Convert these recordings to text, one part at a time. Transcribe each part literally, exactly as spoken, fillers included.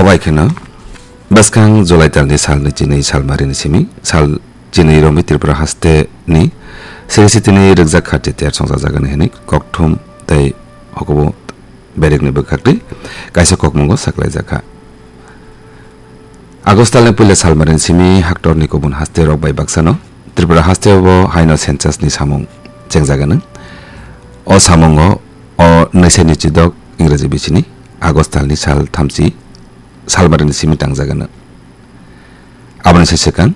Obai kheno bwskang July talni salni chini salmarini simi sal chini romwi Tripura haste ni siri sitini rwkjak kha T T R songchajagani hwnwi kokthum tei hokobo berikni bwkhaktwi kaisa kokmungo saklaijakha. August talni puila salmarini simi haktorni kubun haste rok bai baksano Tripura haste o haino census ni samung chengjagano. O samungo o naisaini chidok Ingraji bisini August talni sal thamchi salmarini simi tangjagano. Aboni se swkang,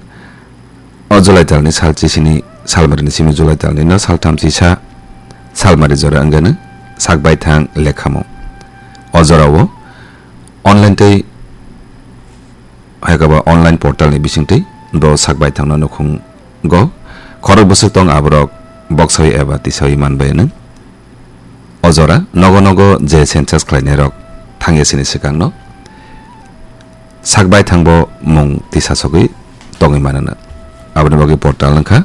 o July talni sal chisini salmarini simi July talni no sal thamchi sa salmari jora wngano sak baithang lekhamo. O jorao online tei hai khe ba online portal ni bisingtwi bro sak baithangno nukhungo khorok bwswk tong aborok boksawi eba tisawi manbai anw. O jora nogo nogo je census khlainairok thangya sini swkangno sak baithangbo mung tisa sogwi tongwi mananw. Aboni bagwi portal wngkha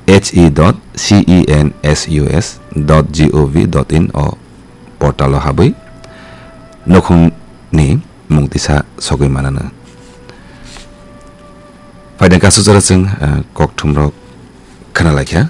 H E dot C E N S U S dot G O V dot in o portal o habwi nukhungni mung tisa sogwi mananw. Phaideng kasu jora chwng, eh, kokthumrok khna laikha.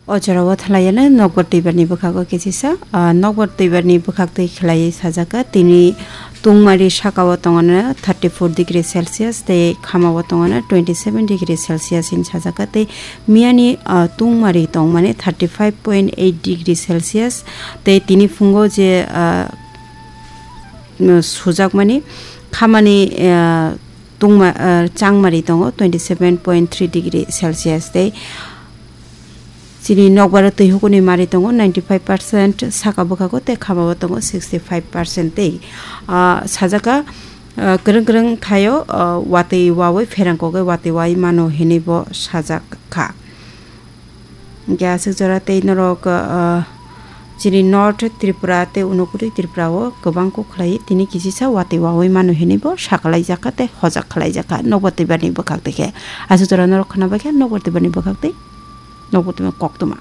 O jorao thalaiano nokbar twibarni bwkhago kisisa, ah, nokbar twibarni bwkhak twi khlaiwi sajaka tini tungmari sakao tongona thirty four degree Celsius tei khamao tongona twenty seven degree Celsius hin sajaka tei miyani, ah, tungmari tongmani thirty five point eight degree Celsius tei tini phungo je, ah, sujakmani khamani, ah, tungma, ah, changmari tongo twenty seven point three degree Celsius tei chini nokbar twi hukuni mari tongo ninety five percent saka bwkhago tei khamao tongo sixty five percent tei, ah, sajaka, ah, kwrwng kwrwng thaio, ah, watwi wawi pherang kogwi watwi wawi mano hinwi bo sajak kha. Hingke aswk jora tei norok, ah, chini North Tripura tei Unokoti Tripura o kwbang kok khlai tini kisisa watwi wawi mano hinwi bo sakalaijak kha tei hojak khlaijak kha nokbar twibarni bwkhak twi khe. Aswk jora norok khna bai khe nokbar twibarni bwkhak twi nokbar twibar koktwma.